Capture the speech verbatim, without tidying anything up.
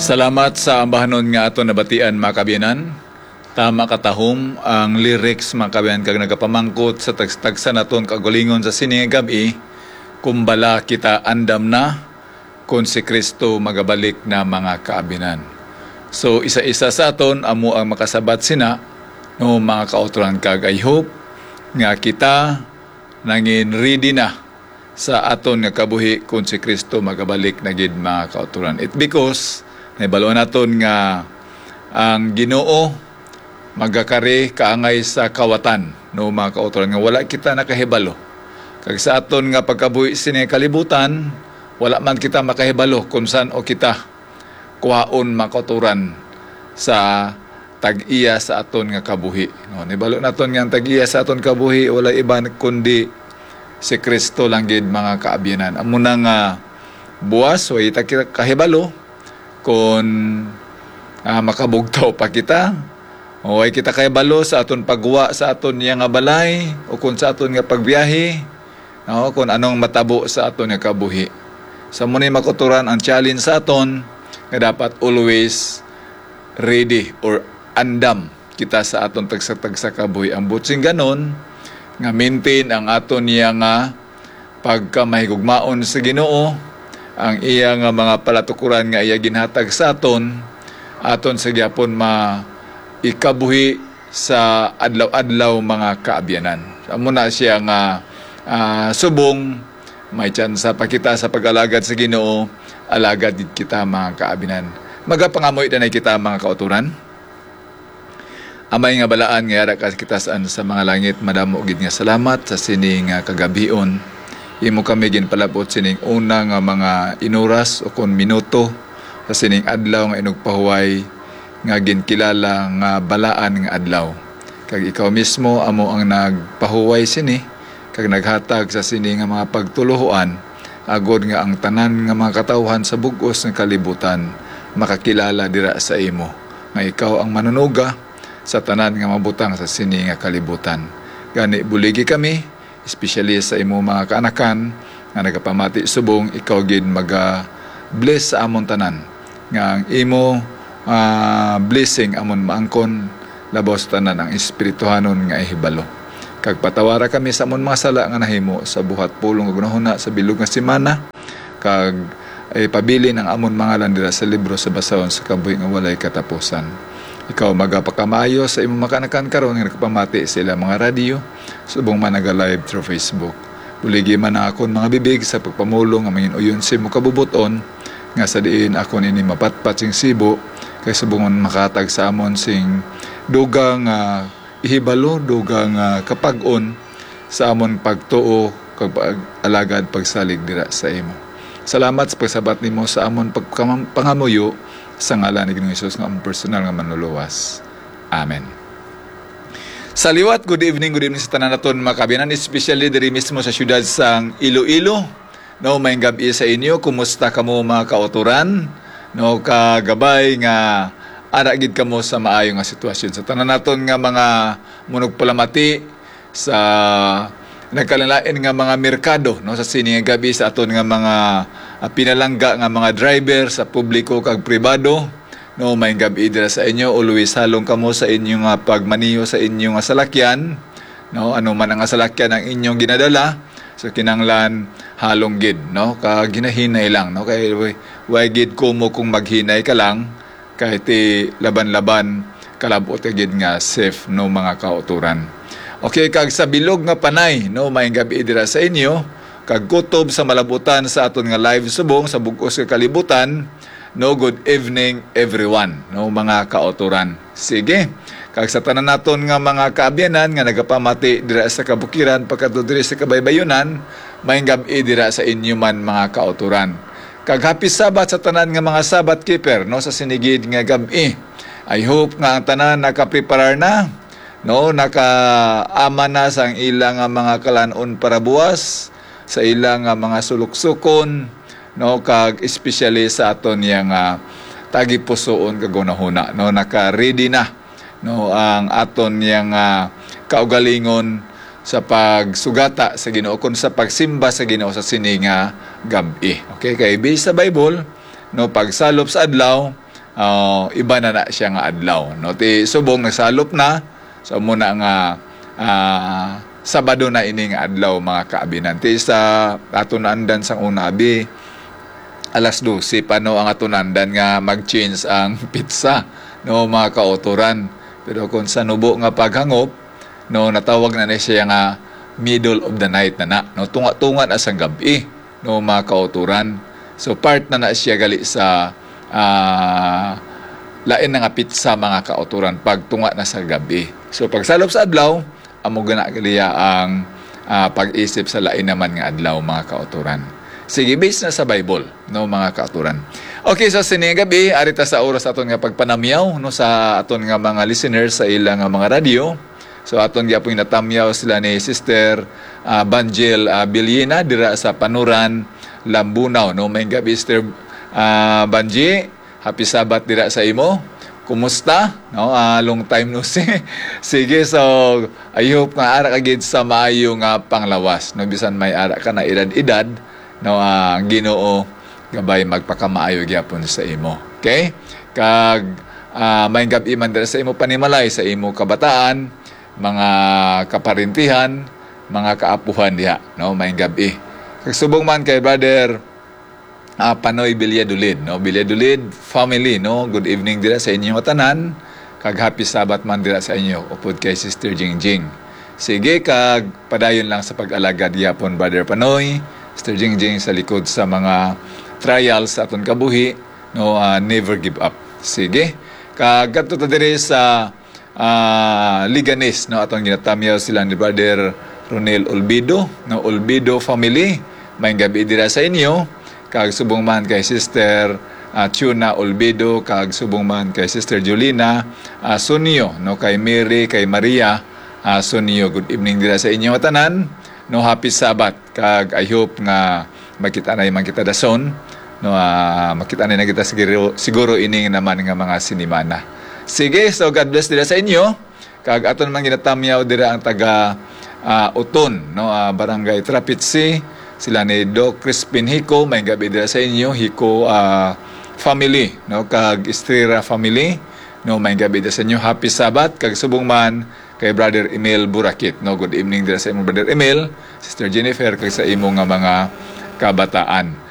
Salamat sa ambahanon nga aton nabatian, mga kaabyanan. Tama katahom ang lyrics, mga kaabyanan, kag nagapamangkot sa tags-, tagsa naton kaugalingon sa sini nga gab-i, kung bala kita andam na, kung si Kristo magabalik na, mga kaabyanan. So, isa-isa sa aton amo ang makasabat sina, no, mga kautoran, kag I hope nga kita nangin ready na sa aton nga kabuhi kung si Kristo magabalik na gid, mga kautoran. It because nahibalo naton nga ang Ginoo magakari kaangay sa kawatan, no, mga kautoran, nga wala kita nakahibalo. Kag sa aton nga pagkabuhi sini kalibutan, wala man kita makahibalo kung san-o kita kuhaon, mga kautoran, sa tag-iya sa aton nga kabuhi. No, nibalo naton nga ang tag-iya sa aton kabuhi walay iban kundi si Kristo lang gid, mga kaabyanan. Amo na nga buwas, way ta kita kahibalo kung, ah, makabugtaw pa kita. O way kita kahibalo sa aton pagwa sa aton niya nga balay o kung sa aton nga pagbiyahe. No, kung anong matabo sa aton nga kabuhi. Sa muni makuturan ang challenge sa aton nga dapat always ready or andam kita sa aton tagsa-tagsa kabuhi. Ang butsing ganon nga maintain ang aton niya nga pagkamahigugmaon sa Ginoo, ang iya nga mga palatukuran nga iya ginhatag sa aton, aton sa gyapon ma ikabuhi sa adlaw-adlaw, mga kaabyanan. Amo na siya nga, ah, subong may tsansa pa kita sa pag-alagad sa Ginoo, alagad gid kita, mga kaabyanan. Magapangamoy na kita, mga kauturan. Amay nga balaan nga yara ka kita sa, sa mga langit, madamo gid nga salamat sa sini nga kagabhion. Imo kami ginpalabot sining una nga mga inuras o kon minuto sa sining adlaw nga inugpahuway nga ginkilala nga balaan nga adlaw. Kag ikaw mismo amo ang nagpahuway sini, kag naghatag sa sini nga mga pagtuluohan, agod nga ang tanan nga mga katawuhan sa bug-os nga kalibutan makakilala dira sa imo, nga ikaw ang manunuga sa tanan nga mabutang sa sini nga kalibutan. Gani, buligi kami, especially sa imo mga kaanakan nga nagapamati subong ikaw gid maga-bless sa amon tanan, nga ang imo, ah, blessing amon maangkon labaw sa tanan ang espirituhanon nga ihibalo. Kag patawara kami sa amon mga sala nga nahimo sa buhat, pulong, ug hunahuna sa bilog nga semana, kag ipabilin ang amon mga ngalan dira sa libro sa basahon sa kabuhi nga walay katapusan. Ikaw magapakamaayo sa imong mga kaanakan karon nga nagapamati sa ilang mga radyo, subong man naga-live through Facebook. Buligi man ang akon mga bibig sa pagpamulong nga mangin-uyon sa imong kabubot-on, nga sa diin akon ini mapatpat sing sibo, kay subong man makahatag sa amon sing dugang nga ihibalo, dugang nga kapag-on sa amon pagtuo kag pag-alagad, pagsalig dira sa imo. Salamat sa pagsabat nimo sa amon pagkamam-, pangamuyo, sa ngalan ni Ginoong Jesus nga amon personal nga Manluluwas. Amen. Sa liwat, good evening, good evening sa tanan naton mga kaabyanan, especially diri mismo sa siyudad sang Iloilo. No, maayong gab-i sa inyo. Kumusta kamo, mga kautoran? No, kagabay nga ara gid kamo sa maayo nga sitwasyon. Sa tanan naton nga mga manugpalamati sa nagkalain-lain nga mga merkado, no, sa sini nga gab-i, sa aton nga mga, ah, pinalangga nga mga driver sa publiko kag pribado, no, maayong gab-i dira sa inyo. Always halong kamo sa inyo nga pagmaneho sa inyo nga salakyan, no, ano man ang salakyan ang inyong ginadala, so kinahanglan halong gid, no, kag hinahinay lang, no, kay way, way gid kumo kung maghinay ka lang, kay ti laban-laban, kalab-ot ka gid nga safe, no, mga kautoran. Okay, kag sa bilog nga panay, no, maayong gab-i dira sa inyo, kag kutob sa malabutan sa aton nga live subong sa bug-os nga kalibutan, no, good evening everyone, no, mga kautoran. Sige, kag sa tanan naton nga mga kaabyanan nga nagapamati dira sa kabukiran pagkadto diri sa kabaybayunan, maayong gab-i dira sa inyo man, mga kautoran. Kag happy Sabbath sa tanan nga mga Sabbath keeper, no, sa sini gid nga gab-i. I hope nga ang tanan nakapreparar na, no, nakaama na sang ila nga mga kalan-on para buwas, sa ila nga mga suluksukon, no, kag especially sa aton niya nga tagipusoon kag hunahuna, no, naka-ready na, no, ang aton niya nga kaugalingon sa pagsugata sa Ginoo, kon sa pagsimba sa Ginoo sa sini nga gab-i. Okay, kay based sa Bible, no, pagsalop sa adlaw, ah, iba na na siya nga adlaw, no? Ti subong nagsalop na, so amo na nga, ah, Sabado na ini nga adlaw, mga kaabinan. Ti sa aton naandan sang una, abi, alas dose pa, no, ang aton naandan nga mag-change ang petsa, no, mga kautoran. Pero kung sa nubo nga paghangop, no, natawag na ni siya nga middle of the night na na, no, tunga-tunga na sang gab-i, no, mga kautoran. So, part na na siya gali sa, ah, lain na nga petsa, mga kautoran, pagtunga na sa gab-i. So, pagsalop sa adlaw, amo gani gali ang, ah, pag-isip sa lain naman nga adlaw, mga kautoran. Sige, based na sa Bible, no, mga kautoran. Okay, so sini nga gab-i, ari ta sa oras aton nga pagpanamyaw, no, sa aton nga mga listeners sa ila nga mga radyo. So, aton gyapon natamyaw sila ni Sister, ah, Banjel, ah, Bilyina dira sa Panuran, Lambunao, no? May gab-i, Sister, ah, Banji. Happy Sabbath dira sa imo. Kumusta? No, ah, long time no see. Sige, so I hope nga ara ka gid sa maayo nga panglawas, no, bisan may ara ka na edad-edad, no, ah, ang Ginoo gabay magpakamaayo gyapon sa imo. Okay? Kag, ah, may gab-i man dira sa imo panimalay, sa imo kabataan, mga kaparintihan, mga kaapuhan diha, no, may gab-i. Kag subong man kay Brother, ah, Panoy Villadolid, no, Villadolid family, no, good evening dira sa inyo nga tanan, kag happy Sabbath man dira sa inyo, upod kay Sister Jingjing. Sige, kag padayon lang sa pag-alagad gyapon, Brother Panoy, Sister Jingjing, sa likod sa mga trials sa aton kabuhi, no, ah, never give up. Sige, kag kadto ta diri sa, ah, Leganes, no, aton ginatamyaw sila ni Brother Ronel Olbido, no, Olbido family. May gab-i dira sa inyo, kag subong man kay Sister, ah, Chuna Olbido, kag subong man kay Sister Jolina, ah, Sunyo, no, kay Mary, kay Maria, ah, Sunyo. Good evening dira sa inyo nga tanan, no, happy Sabbath, kag I hope nga makita na man kita dason, no, ah, makita na kita siguro, siguro ining naman nga mga sinimana. Sige, so God bless dira sa inyo. Kag aton man ginatamyaw dira ang taga, ah, Uton, no, ah, Barangay Trapitsi, sila ni Doc Crispin Hico, may gab-i dira sa inyo, Hico, ah, family, no, kag Estrera family, no, may gab-i dira sa inyo. Happy Sabbath, kag subong man kay Brother Emil Burakit, no. Good evening dira sa imo, Brother Emil, Sister Jennifer, kag sa imo nga mga kabataan.